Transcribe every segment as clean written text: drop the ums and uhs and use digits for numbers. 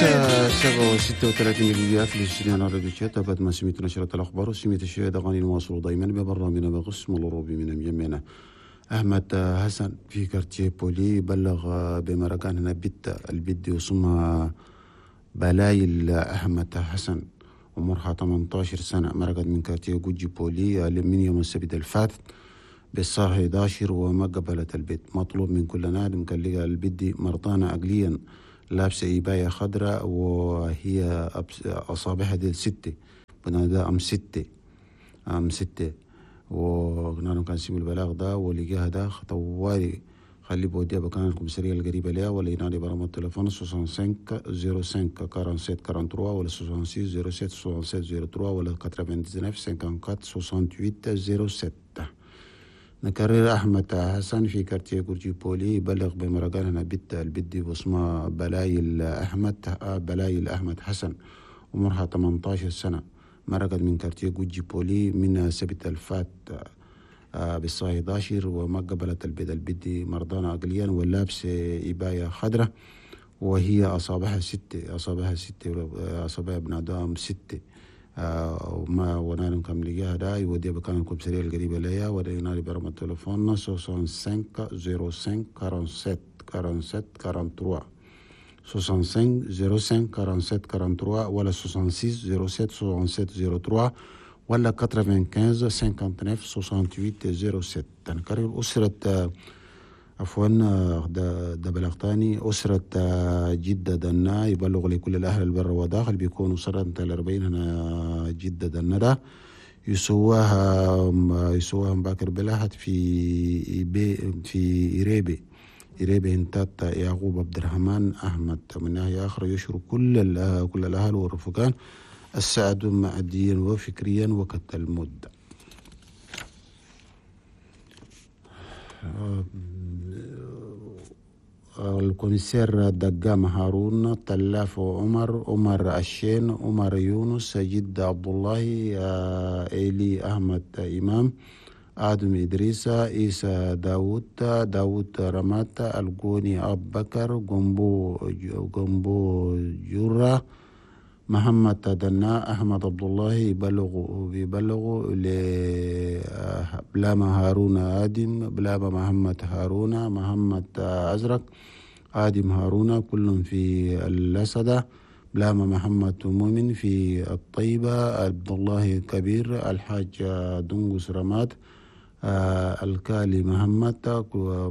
الساعة 7:36 دقيقة في الاستوديو راديو تشاد. بعد ما سمعت نشرة الأخبار وسمعت الشهادة غني نواصل دائما ببرنامجنا بقسم الأوروبي من مجمعنا. أحمد حسن في quartier بولي بلغ بمرقان هنا بيت البيت وسمها بلايل أحمد حسن، عمرها 18 سنة، مرقت من quartier جوجي بولي من يوم السبت الفات بالساعة 11 وما قبلت البيت. مطلوب من كل نادم كان لقى البيت دي مرضانة عقليا، لابسة إباية خضراء وهي أصابعها دي 6، بنادى أم 6 أم 6. وقلنا كان سيب البلاغ ده ولقاها ده طوالي خلي بوديها بكان الكوميسارية القريبة ليها، ولا ينادي برقم التليفون 65 05 47 43 ولا 66 07 67 03 ولا 99 54 68 07. نكرر، أحمد حسن في quartier جورجي بولي بلغ بمرقان هنا بيت البدي واسمها بلايل أحمد، بلايل أحمد حسن، عمرها 18 سنة، مرقت من quartier جوجي بولي من السبت الفات بالساعة 11 وما قبلت البيت. البدي مرضانة عقليا ولابسة إباية خضراء وهي أصابعها 6، أصابعها 6، أصابعها بنادام 6. وما ونالم كم لقاها دا يوديها بكان الكوميسارية القريبة ليا، ولا ينادي برقم التليفون 65 05 47 47 43 65 05 47 43 ولا 66 07 67 03 ولا 95 59 68 07. نكرر، أسرة عفوا ده بلاغ تاني، أسرة جدة دنا يبلغ لكل الأهل البر وداخل بيكونوا سنة 40 هنا جدة دنا ده يسواها مباكر بلاحت في في إريبي إريبي هنتات يعقوب عبد الرحمن أحمد. من ناحية أخرى يشكر كل الأهل والرفقان السعد ماديا وفكريا وقت المدة. ال commissaire دقام هارون، تلاف عمر، عمر الشين، عمر يونس، جد عبد الله، إيلي أحمد إمام، آدم إدريس، عيسى داوود، داوود رمات، الجوني أبو بكر، جنبو جرة، محمد دنا، أحمد عبد الله يبلغوا لبلاما هارون آدم، بلاما محمد هارون، محمد أزرق، آدم هارون، كلهم في الأسدة، بلاما محمد مؤمن في الطيبة، عبد الله كبير، الحاج دنقس رماد، الكالي محمد،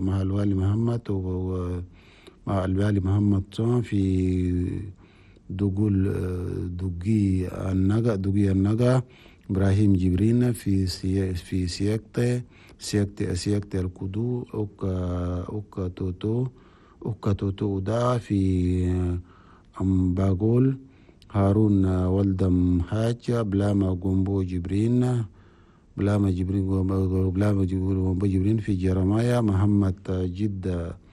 مع الوالي محمد، ومع الوالي محمد في دقول دقي النجا، دقي النجا، إبراهيم جبرين في في سياكتة سياكتة سياكتة الكدو، أوكا توتو، أوكا توتو دا في أمباغول، هارون ولدم حاج، بلاما جومبو جبرين، بلاما جبرين، بلاما جومبو جبرين في جرمايا، محمد جدة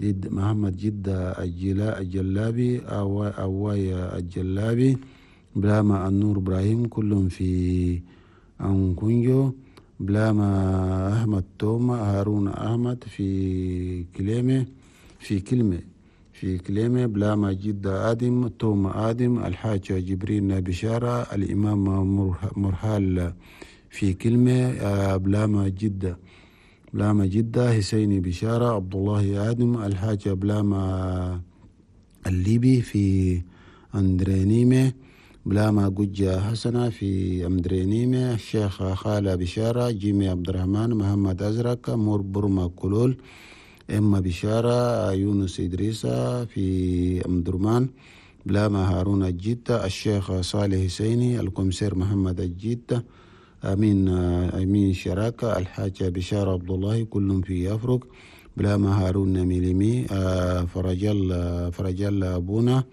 جد محمد جدة الجلابي، أوايا الجلابي، بلاما النور إبراهيم، كلهم في أنكونجو، بلاما أحمد توما، هارون أحمد في كليمة في كلمة في كليمة، بلاما جدة آدم، توما آدم، الحاج جبرين بشارة، الإمام مرحال في كلمة، بلاما جدة بلاما جدة، حسيني بشارة، عبد الله آدم، الحاج بلاما الليبي في أندرينيمة، بلاما جوجة حسنة في أندرينيمة، الشيخ خالة بشارة، جيمي عبد الرحمن، محمد أزرق، مور برما كلول، إما بشارة، يونس إدريسة في أمدرمان، بلاما هارون الجيتة، الشيخ صالح حسيني، ال commissaire محمد الجيتة، أمين شراكة، الحاج بشارة عبد الله، كلهم في أفرق، بلاما هارون ميليمي، فرجال أبونا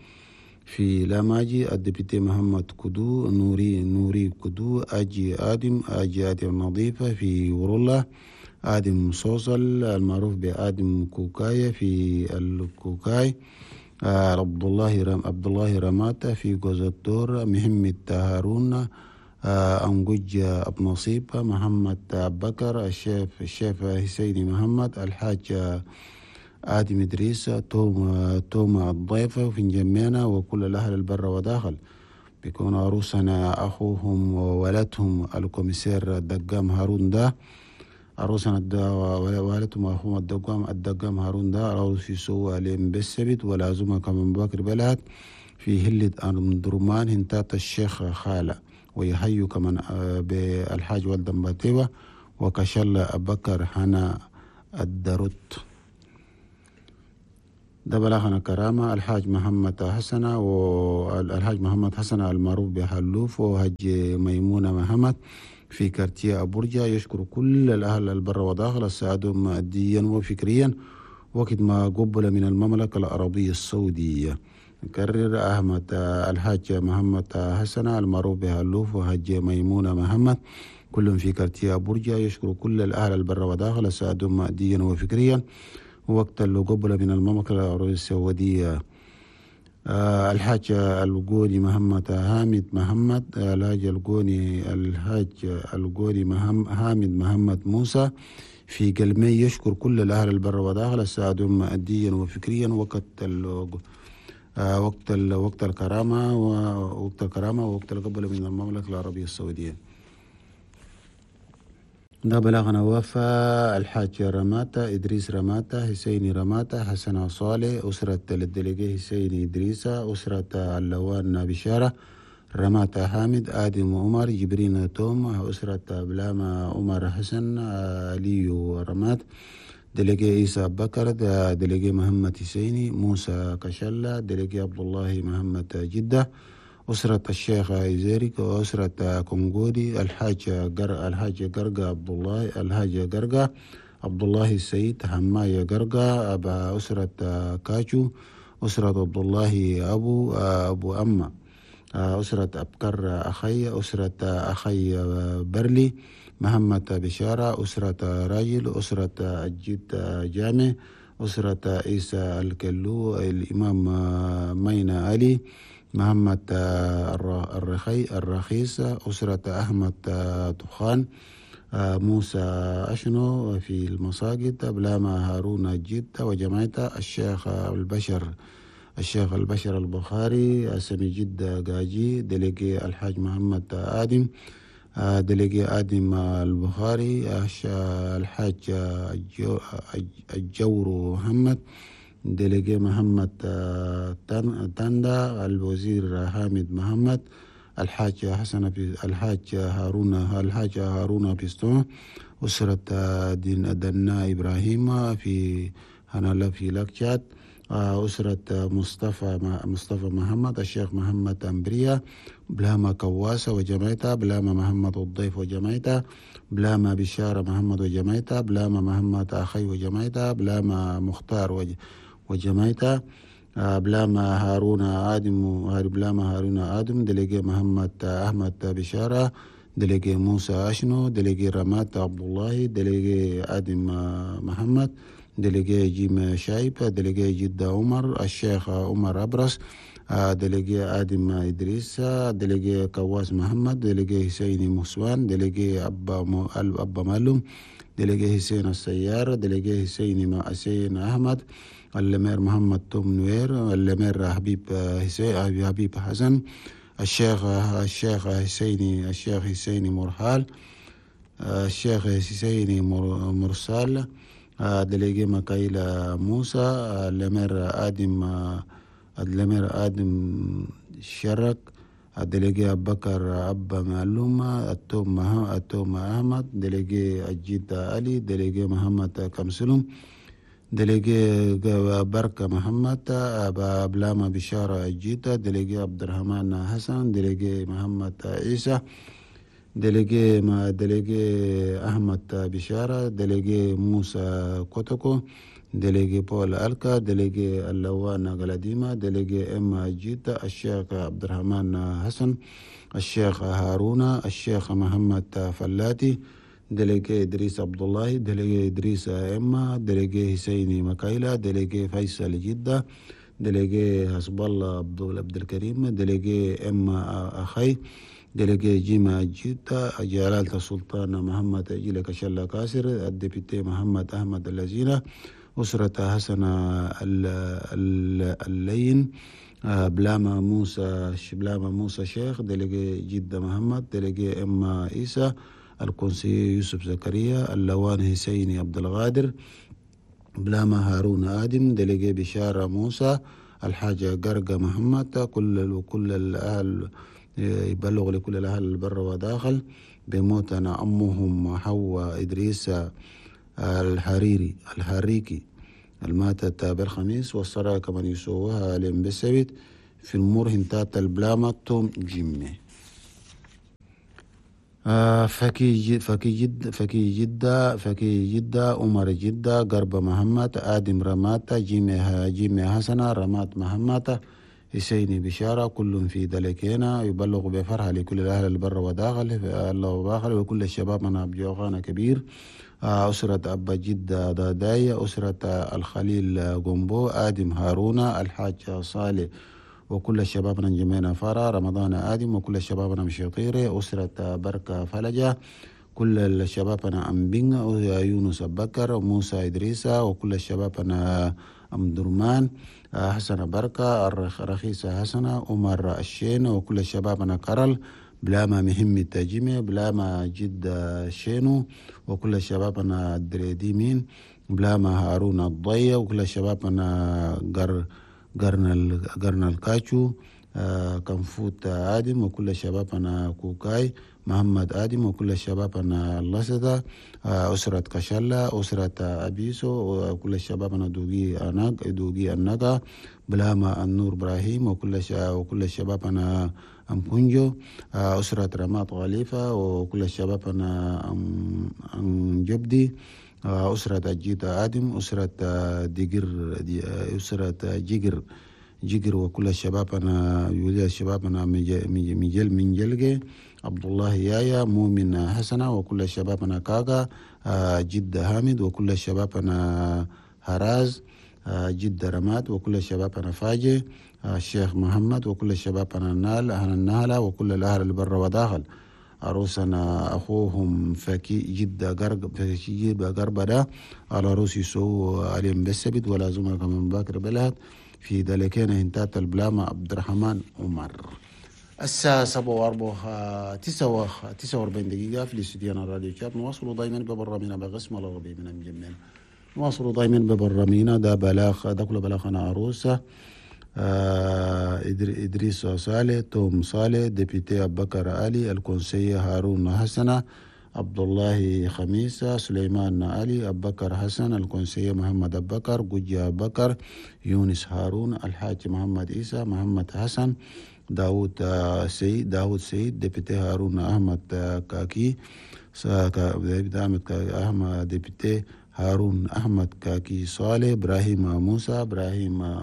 في لاماجي، ال député محمد كدو، نوري كدو، أجي آدم، أجي آدم نظيفة في ورولا، آدم صوصل المعروف بآدم كوكاية في الكوكاي، عبد الله رماتا في جوزتور، محمد هارون، أنجوج أبو نصيب، محمد بكر، الشيف حسيني محمد، الحاج آدم إدريس توما الضيفة في جمينا وكل الأهل البر وداخل. بيكون عروسنا أخوهم وولدهم ال commissaire الدقام هارون ده، عروسنا والدهم أخوهم الدقام هارون ده عروس في سوى لهم بالسبت ولازمها كمان بكر بلد في هلة أندرمان هنتات الشيخ خالة، ويحيوا كمان بالحاج والدم باتيوة وكشل أبكر حنا الدرت. ده بلاغنا كرامة الحاج محمد حسن والحاج محمد حسن المعروف بحلوف وهج ميمونة محمد في كارتيا أبورجا، يشكر كل الأهل البر وداخل ساعدهم ماديا وفكريا وقت ما قبل من المملكة العربية السعودية. نكرر أحمد الحاج محمد حسن المعروف بحلوف وهج ميمونة محمد كلهم في كارتيا أبورجا، يشكر كل الأهل البر وداخل ساعدهم ماديا وفكريا وقت اللي قبل من المملكة العربية السعودية. الحاج القوني محمد حامد محمد، الحاج القوني حامد محمد موسى في قلمي، يشكر كل الأهل البر وداخل ساعدهم ماديا وفكريا وقت الكرامة ووقت الكرامة ووقت القبل من المملكة العربية السعودية. ده بلغنا وفاء الحاج رماتا إدريس رماتا حسين رماتا حسن صالح أسرة ال délégué حسين إدريس أسرة اللوان بشارة رماتا حامد آدم عمر جبرين توم أسرة بلاما عمر حسن ليو رمات délégué عيسى بكر délégué محمد حسيني موسى كشلة délégué عبد الله محمد جدة أسرة الشيخ إزيريك وأسرة كونغولي الحاج قرقة عبد الله الحاج قرقة عبد الله السيد حماية قرقة أبا أسرة كاچو أسرة عبد الله أبو أما أسرة أبكر أخي أسرة أخي برلي محمد بشارة أسرة راجل أسرة الجد جامع أسرة عيسى الكلو الإمام مينا علي محمد الرخيص أسرة أحمد دخان موسى أشنو في المساجد بلاما هارون جدة وجماعته الشيخ البشر البخاري سمي جدة قاجي délégué الحاج محمد آدم délégué آدم البخاري الحاج الجور محمد délégué محمد تاندا الوزير حامد محمد الحاج حسن الحاج هارون بيستون أسرة دنا إبراهيم في هنا في لاكشات أسرة مصطفى محمد الشيخ محمد أمبريا بلاما كواسة وجماعته بلاما محمد الضيف وجماعته بلاما بشارة محمد وجماعته بلاما محمد أخي وجماعته بلاما مختار وجماعته بلاما هارون آدم délégué محمد أحمد بشارة délégué موسى أشنو délégué رمات عبد الله délégué آدم محمد délégué جيم شايب délégué جدة عمر الشيخ عمر أبرس délégué آدم إدريس délégué كواس محمد délégué حسين مسوان délégué أبا معلوم délégué حسين السيار délégué حسين أحمد ال maire محمد توم نوير ال maire حبيب حسن الشيخ حسين مرحال الشيخ حسين مرسال délégué مكايلا موسى ال maire آدم شرك délégué أبكر أبا معلومة التوم أحمد délégué الجد علي délégué محمد كمسلم délégué بركة محمد أبا بلاما بشارة الجيتة délégué عبد الرحمن حسن délégué محمد عيسى délégué أحمد بشارة délégué موسى كوتوكو délégué بول ألكا délégué اللوان غلاديما délégué إم جيتا الشيخ عبد الرحمن حسن الشيخ هارون الشيخ محمد فلاتي délégué إدريس عبد الله délégué إدريس إما délégué حسيني مكايلة délégué فيصل جدة délégué حسب الله عبد الكريم délégué إما أخي délégué جيما جدة جلالة السلطان محمد أجيلك شلا كاسر ال député محمد أحمد اللزينة أسرة حسن اللين، بلاما موسى، بلاما موسى شيخ، délégué جدة محمد، délégué إما عيسى، ال conseiller يوسف زكريا، اللوان حسيني عبد الغادر، بلاما هارون آدم، délégué بشارة موسى، الحاجة قرقة محمد، كل الأهل يبلغ لكل الأهل البر وداخل بموتنا أمهم حواء إدريس الحريري الحريكي الماتت بالخميس، والصلاة كمان يسووها لهم بالسبت في المور هنتات البلامة توم جيمي. فكي فكي جد فكي جدة فكي جدة عمر جدة قرب محمد، آدم رماتا، جيمي حسنة، رمات محمد، حسيني بشارة، كل في دلكينا يبلغ بفرحة لكل الأهل البر وداخل الله وباخل وكل الشباب من أبجوغانا كبير. أسرة أبا جدة داداية، أسرة الخليل قنبو، آدم هارون، الحاج صالح، وكل الشباب من جمينا فرا، رمضان آدم، وكل الشباب من مشيطيري، أسرة بركة فلجة، كل الشباب أنا أمبين، يونس بكر، موسى إدريسة، وكل الشباب أنا أم درمان، حسن بركة، رخيصة حسنة، عمر الشين، وكل الشباب أنا كرل، بلاما مهم التجمع، بلاما جد شينو، وكل الشباب أنا دريديمين، بلاما هارون الضية، وكل الشباب أنا قرن الكاتشو، كنفوت آدم، وكل الشباب أنا كوكاي محمد آدم، وكل الشباب أنا اللسدة، أسرة كشلة، أسرة أبيسو، وكل الشباب أنا دوغي النقا، بلاما النور إبراهيم، وكل الشباب أنا أم كونجو، أسرة رمات غليفة، وكل الشباب أنا أم جبدي، أسرة جيتا آدم، أسرة ديجر، أسرة جيجر، وكل الشباب أنا يولي الشباب أنا مجل من جلجة، عبد الله يايا، مؤمن حسنة، وكل الشباب أنا كاكا، جدة حامد، وكل الشباب أنا هراز، جدة رماد، وكل الشباب أنا فاجي، الشيخ محمد، وكل الشباب أنا نال أهل النهلة، وكل الأهل البر وداخل. عروسنا أخوهم فكي جدة قرب فكي جدة قرب ده على روسي سو عليهم بالسبت ولا زمر كمان باكر بلاد في ذلك هنتات البلامة عبد الرحمن عمر. الساعة 7:49 دقيقة في الاستوديو الراديو شات. نواصل دائما ببرامينا بقسم الغربي من المجمل. نواصل دائما ببرامينا ده بلاغ ده كله بلاغنا عروسة إدريس صالح، توم صالح، député أبكر علي، ال conseiller هارون حسنة، عبد الله خميسة، سليمان علي، أبكر حسن، ال conseiller محمد أبكر، جوجي أبكر، يونس هارون، الحاج محمد عيسى، محمد حسن، داود سيد، député هارون أحمد كاكي، أحمد député هارون أحمد كاكي صالح، إبراهيم موسى، إبراهيم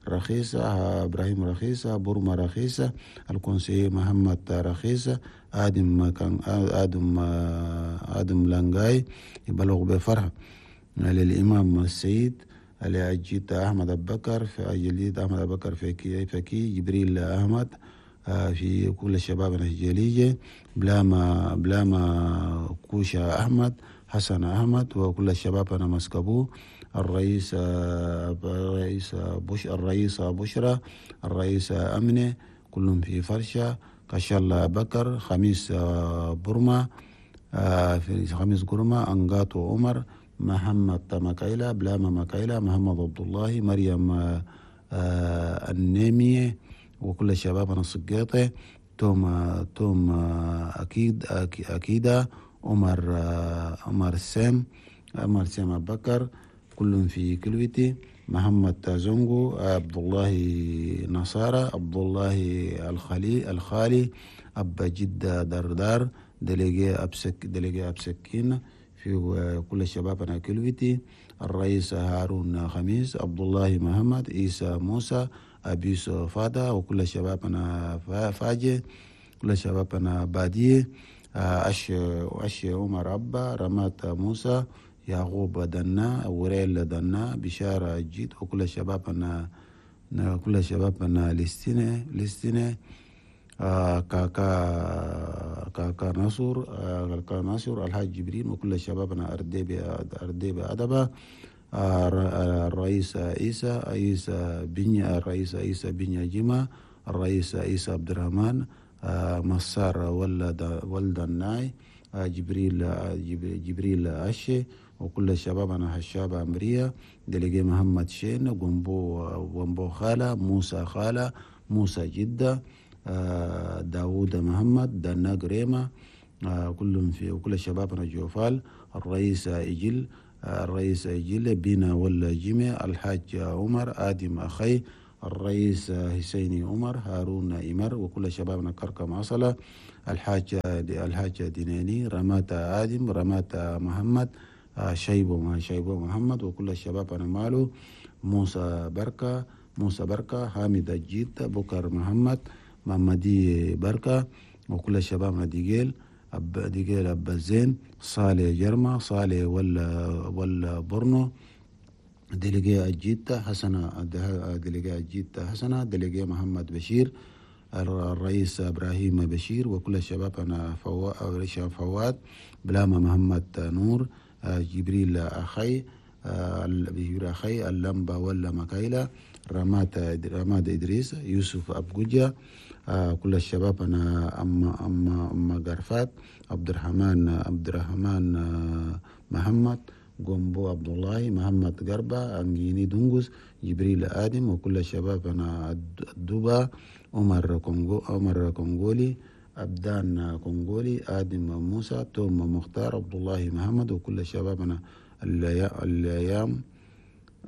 رخيصة، إبراهيم رخيصة، بورما رخيصة، ال conseiller محمد رخيصة، آدم كان آدم لانجاي. يبلغ بفرح للإمام السيد لأجيت أحمد أبكر في أجليت أحمد أبكر فكي جبريل أحمد في كل الشباب الجليجة، بلاما كوشا أحمد، حسن أحمد، وكل الشباب أنا مسكبو، الرئيس بش الرئيسة بشرى، الرئيسة أمنة، كلهم في فرشة، كشال بكر، خميس برما، في خميس قرمة، أنقاتو عمر، محمد مكايلة، بلاما مكايلة، محمد عبد الله، مريم النيمية، وكل الشباب أنا السقيطة، توم أكيد أكيدة، عمر سام، عمر سام بكر، كلهم في كلوتي، محمد زونغو، عبد الله نصارى، عبد الله الخالي، أبا جدة دردار، délégué أبسكين في كل الشباب أنا كلوتي، الرئيس هارون خميس، عبد الله محمد، عيسى موسى، أبيس فادا، وكل الشباب أنا فاجي، كل الشباب أنا بادية، أش عمر أبا، رمات موسى، يعقوب دنا، وريل دنا، بشارة جيت، وكل الشباب أنا كل الشباب أنا لستينة، كاكا ناصر، كاكا ناصر، الحاج جبرين، وكل الشباب أنا أرديبي أدبا، الرئيس عيسى عيسى بنيا، الرئيس عيسى بنيا جمع، الرئيس عيسى عبد الرحمن، مسار ولد الناي، جبريل جبريل أشي، وكل الشباب أنا هشاب أمرية، دليجي محمد شين، جنبو خالة، موسى خالة، موسى جدة، داوود محمد، دنا قريمة، كلهم في، وكل الشباب أنا جوفال، الرئيس إجل، الرئيس إجل بينا ولا جيمي، الحاج عمر، آدم أخي، الرئيس حسيني عمر، هارون إمر، وكل شبابنا كركم عصلة، الحاج ديناني، رمات آدم، رمات محمد، شيبو محمد، وكل الشباب أنا مالو، موسى بركة، موسى بركة، حامد الجيت، بكر محمد، محمدي بركة، وكل الشباب ديجيل أب ديجيل أب الزين، صالح جرمة، صالح ولا برنو، ديليجي الجيت حسنة، ديليجي الجيت حسنة، ديليجي محمد بشير، الرئيس إبراهيم بشير، وكل الشباب أنا فواد، بلاما محمد نور، جبريل أخي، جبريل أخي، اللمبة ولا مكايلة، رماد إدريس، يوسف أبجوجة، كل الشباب أنا أما قرفات، عبد الرحمن محمد، جومبو عبد الله، محمد قربة، أنجيني دونجوس، جبريل آدم، وكل الشباب أنا الدوبا، عمر كونغولي، أبدان كونغولي، آدم موسى، توم مختار، عبد الله محمد، وكل الشباب أنا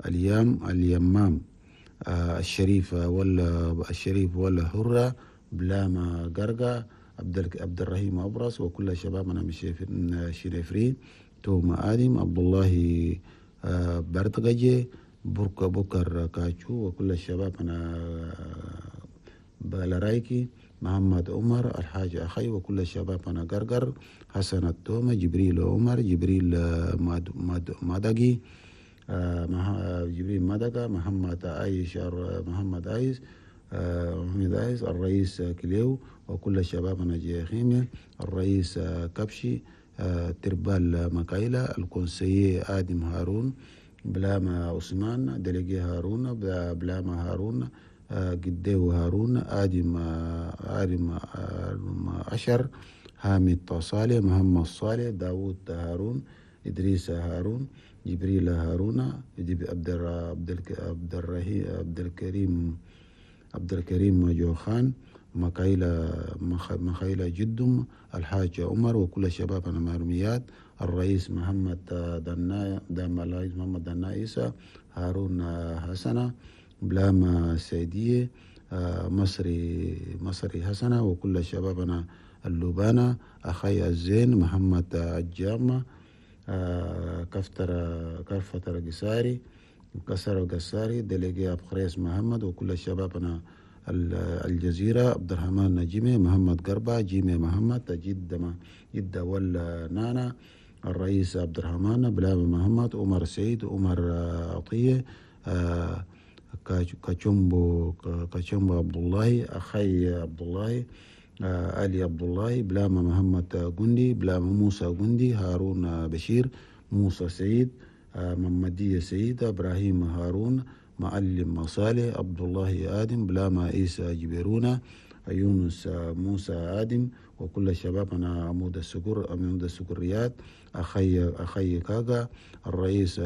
اليام اليمام، الشريف ولا حرة، بلاما قرقة، عبد الرحيم أبرص، وكل شبابنا شريفري، توم آدم، عبد الله برتقجي، بكر كاتشو، وكل الشباب أنا بلرايكي، محمد عمر، الحاج أخي، وكل الشباب أنا قرقر، حسن التومة، جبريل عمر، جبريل مدقي، جبريل مدقة، محمد عايش، محمد عايش، الرئيس كليو، وكل الشباب أنا جيخيمي، الرئيس كبشي، تربال مكايلة، الكونسيي آدم هارون، بلاما عثمان، دليجي هارون، بلاما هارون، قديو هارون، آدم عشر، حامد صالح، محمد صالح، داوود هارون، إدريس هارون، جبريل هارون، عبد الكريم جوخان، مخيلة جدم، الحاج عمر، وكل الشباب أنا مرميات، الرئيس محمد دنا، الرئيس محمد دنا عيسى، هارون حسنة، بلاما السيدية، مصري حسنة، وكل شبابنا اللبانة، أخي الزين، محمد الجامة، كفتر قساري، كسر قساري، دليجي أبخريس محمد، وكل شبابنا الجزيرة، عبد الرحمن نجيمي، محمد قربة، جيمي محمد، جدة ولا نانا، الرئيس عبد الرحمن، بلاب محمد، عمر سعيد، عمر عطية، كاتشومبو عبد الله، أخي عبد الله، علي عبد الله، بلاما محمد جندي، بلاما موسى جندي، هارون بشير، موسى سعيد، محمدية سعيد، إبراهيم هارون، معلم صالح، عبد الله آدم، بلاما عيسى جبيرونا، يونس موسى آدم، وكل شبابنا عمود السكريات، أخي كاغا، الرئيس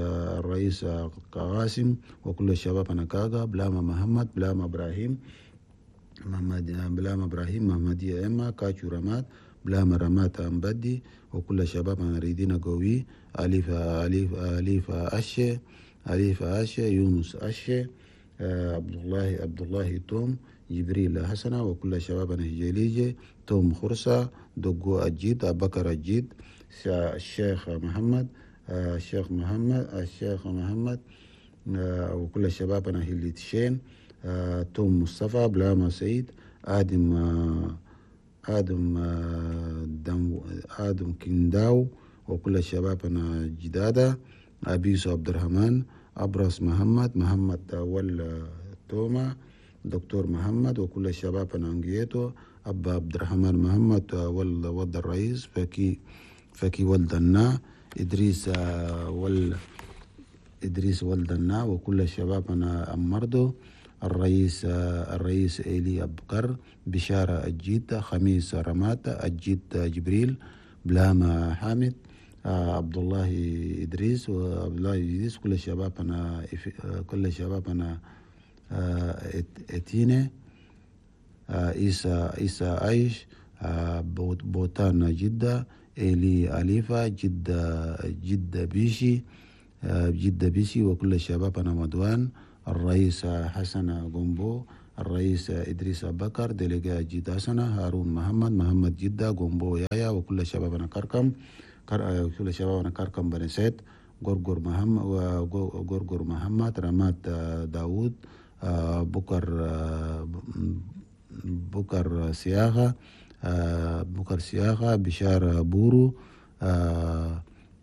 قاسم، وكل شبابنا كاغا، بلاما محمد، بلاما إبراهيم، بلاما إبراهيم، محمدية إما، كاتشو رماد، بلاما رمات أمبدي، وكل شبابنا ريدينا قوي، أليف أليف أليف أشي، أليف أشي، يونس أشي، عبد الله توم، جبريل حسنة، وكل شبابنا هجليجي، توم خرسة، دقو أجيد، أبكر أجيد، الشيخ محمد، الشيخ محمد، وكل شبابنا هليتشين، توم مصطفى، بلاما سعيد، آدم آدم آدم كنداو، وكل شبابنا جدادة، أبيسو عبد الرحمن، أبرس محمد، محمد ولا توما، دكتور محمد، وكل شبابنا انجيتو، أبا عبد الرحمن محمد ولد الرئيس، فكي ولد النا، إدريس إدريس ولدنا وكل شبابنا أمردو، الرئيس إيلي أبكر، بشارة الجيد، خميس رمات، الجيد جبريل، بلاما حامد، عبد الله إدريس وعبد الله إدريس، كل شبابنا اتيني، عيسى عايش، بوتان جدة، إيلي أليفة، جدة بيشي، جدة بيشي، وكل شبابنا مدوان، الرئيس حسن جومبو، الرئيس إدريس بكر، délégué جدة حسنة، هارون محمد، محمد جدة، جومبو يايا، وكل شبابنا كركم، كل شبابنا كركم بني سيد، غرغر محمد، غرغر محمد، رمات داوود، بكر سياغة، بكر سياغة، بشارة بورو،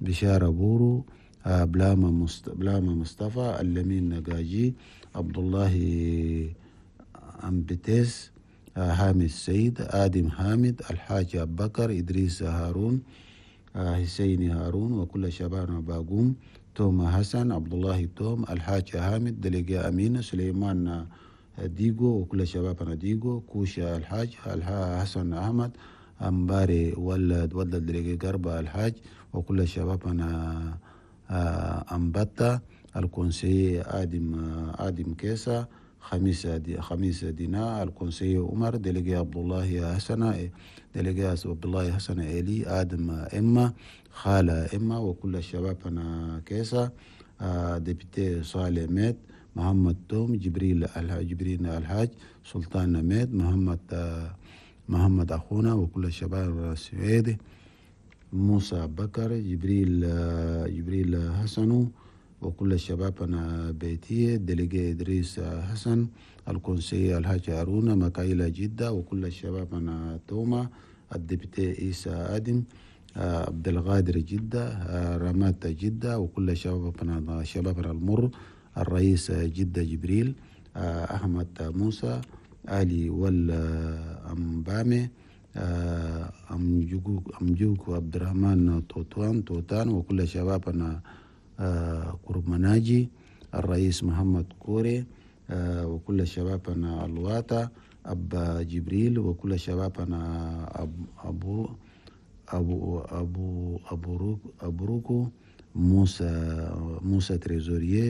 بشارة بورو، بلاما مصطفى، اللمين نجاجي، عبد الله أمبتيس، حامد سيد، آدم حامد، الحاج أبو بكر، إدريس هارون، حسين هارون، وكل شبابنا باقوم، توما حسن، عبد الله توم، الحاج حامد، délégué أمين، سليمان ديغو، وكل شبابنا ديغو، كوشا الحاج، حسن أحمد، أمباري ولد délégué قربة الحاج، وكل شبابنا أمبتا، ال conseiller آدم كيسا، خميس دينا، ال conseiller عمر، délégué عبد الله حسن، délégué عبد الله حسن إيلي، آدم إما، خالة إما، وكل شبابنا كيسا، député صالح ميت، محمد توم، جبريل الحاج، سلطان ميت، محمد أخونا، وكل الشباب السويدي، موسى بكر، جبريل حسنو، وكل الشباب بيتية، délégué إدريس حسن، ال conseiller الحاج هارون، مكايلة جدة، وكل الشباب توما، ال député عيسى آدم، عبد القادر جدة، رمات جدة، وكل شبابنا المر، الرئيس جدة جبريل، أحمد موسى، علي والأمبامي، أمجوك عبد الرحمن توتان، وكل شبابنا قرب مناجي، الرئيس محمد كوري، وكل شبابنا الواتا، أبا جبريل، وكل شبابنا أبو أبو أبو أبو أبروكو، موسى trésorier،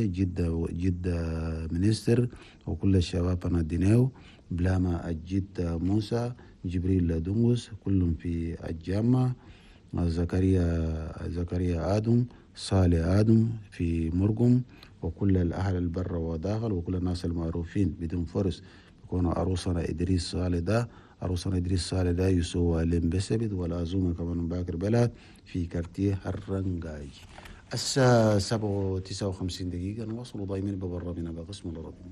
جدة ministre، وكل شبابنا ديناو، بلاما الجد موسى، جبريل دونغوس، كلهم في الجامعة، زكريا آدم، صالح آدم في مرقم، وكل الأهل البر وداخل، وكل الناس المعروفين بدون فرس، بيكونوا عروسنا إدريس صالح ده، عروسنا إدريس صالح ده يسوى لمبسبت، والعزومة كمان باكر بلد في كارتيه الرنجاج. الساعة 7:59 نواصل ضايمين ببرامنا بقسم الربي.